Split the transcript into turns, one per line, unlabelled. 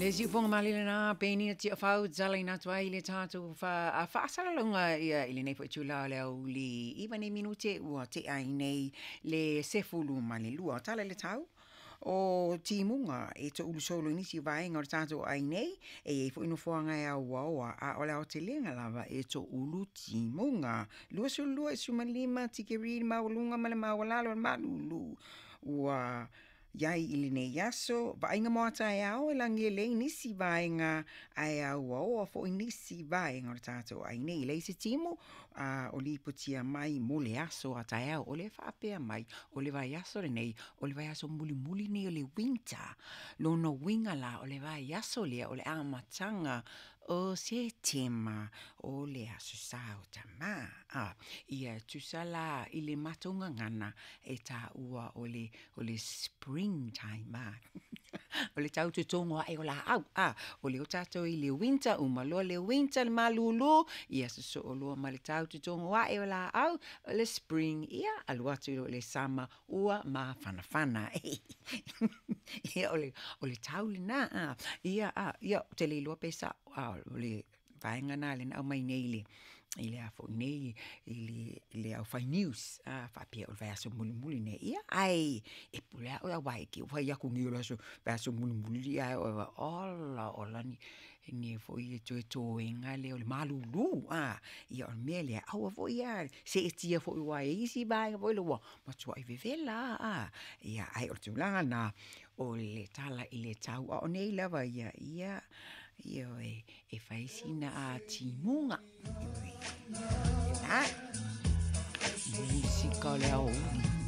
Le siufoga malie lena Penina Tiafau talaina atu ai le tatou faasalalauga ia i lenei foi itula o le aoauli 9 nei minute ua tea ai nei le 12. Tala i le tau o timuga e toulu solo i nisi vaega o le tatou ai nei, e i ai foi nofoaga e auaoa, a o le aotelega lava e toulu timuga. 22.5 tikeri le maualuga ma le maualalo o le malulu ua iai i lenei aso. Vaaiga mo a taeao e lagi e lelei nisi vaega ae auaoa foi nisi vaega o le tatou ai nei. E leai se timu a o lipotia mai mo le aso a taeao. O le faapea mai o le vaiaso lenei, o le vaiaso mulimuli nei o le winter. Lona uiga la o le vaiaso lea o le amataga o Setema o le aso sa o tamā. Ia tusa la i le matou gagana e taua o le o le spring time a. O le tau totogo ae o laau a. O lea ua tatou i le winter, uma loa le winter le malūlū, ia sosoo loa ma le tau totogo ae o laau, o le spring, ia alu atu loa i le summer ua mafanafana. Ia o le o le tau lena a. Ia a, ia ou te le iloa pe sao a o le vaega lena lea na aumai nei i le i le a foi nei i le i le aufai news a faapea o le vaiaso mulimuli nei, ia ae e pule lava oe aua e te fai atu nei o le aso vaiaso mulimuli ae oe ola ola ni ni foi e toe toega lea o le malūlū a. Ia o le mea lea, aua foi a seetia foi aua e i ai isi vaega foi lea ua matuai vevela a. Ia ae o le tulaga lena o le tala i le tau, a o nei lava ia, ia, ioe, e fai sina timuga. Ioe. Musika o le aoauli.